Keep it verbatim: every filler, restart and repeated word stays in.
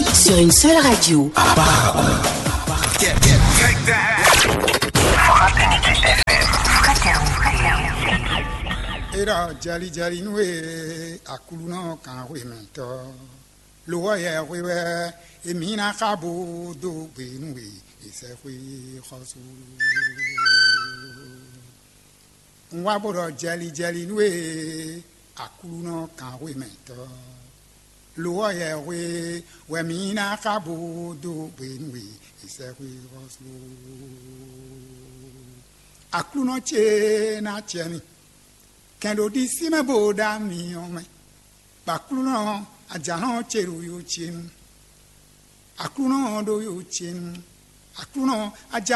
Sur une seule radio. Fraternité F M. Ira jali jali nú e aklúnɔ kan hwe mɛ tɔ. Lo ɔ́ yɛ hwe wɛ emi ná xa bo dó gbe nú e e sɛ hwe xɔsu. Un wá bó ɖɔ jali jali nú e aklúnɔ kan hwe mɛ tɔ. Lo ɔ́ yɛ hwe wɛ mi ná xa bo dó gbe nú e e sɛ hwe xɔsu. Aklúnɔ ce ná cɛ mi. Kɛn ɖo ɖisí mɛ bó ɖá mi ɔ́ mɛ. Bɔ Aklúnɔ ajǎnɔ ce ɖo yo ce nu. Aklúnɔ ɖo yo ce nu. Aklúnɔ ajǎ